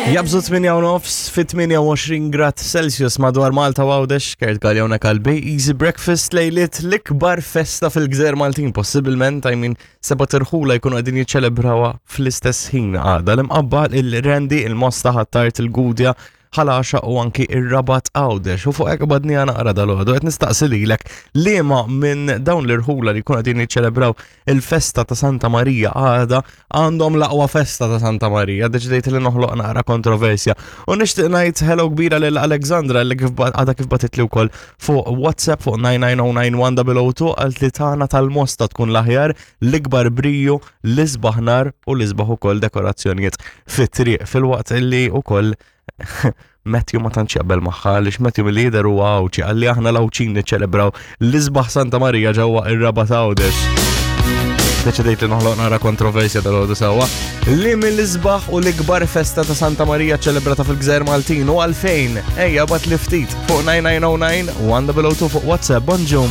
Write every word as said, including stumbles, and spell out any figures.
Jabżu tmienja u nofs fi tmienja u għoxrin grad Celsius madwar Malta u Għawdex. Kurt Galea kalbi Easy Breakfast, lejliet l-ikbar festa fil-Gżejjer Maltin, possibilment, I mean, sebat irħula jkunu qegħdin jiċċelebrawha fl-istess ħin għada: l-Imqabba, il-Qrendi, il-Mosta, Ħ'Attard, il-Gudja, Ħal Għaxaq u anki ir-Rabat Għawdex. U fuq hekk badni naqra dalgħodu, qed nistaqsi lilek liema minn dawn l-irħula li jkunu qegħdin jiċċelebraw il-festa ta' Santa Marija għada għandhom l-aqwa festa ta' Santa Marija. Deċidejt li noħloq naqra kontroversja. U nixtieq ngħid hello kbira lil Alexandra li kif ba- għadha kif bagħtitli wkoll fuq WhatsApp fuq tnejn tnejn zero tnejn wieħed zero zero tnejn, qalt li tagħna tal-Mosta tkun l-aħjar, l-ikbar briju, l-isbaħ nar u l-isbaħ ukoll dekorazzjonijiet fit-triq, filwaqt illi ukoll Matthew ma tantx jaqbel magħha, għaliex Matthew mill-lider huwa Għawdxi, qalli aħna l-Għawdxin niċċelebraw l-isbaħ Santa Marija ġewwa ir-Rabat Għawdex. Deċidejt li noħloq naqra kontroversja dalgħodu sewwa. Li mill-isbaħ u l-ikbar festa ta' Santa Marija ċelebrata fil-Gżejjer Maltin u għalfejn? Ejja, ibgħatli ftit fuq tnejn tnejn zero tnejn wieħed zero zero tnejn fuq WhatsApp. Bonġu.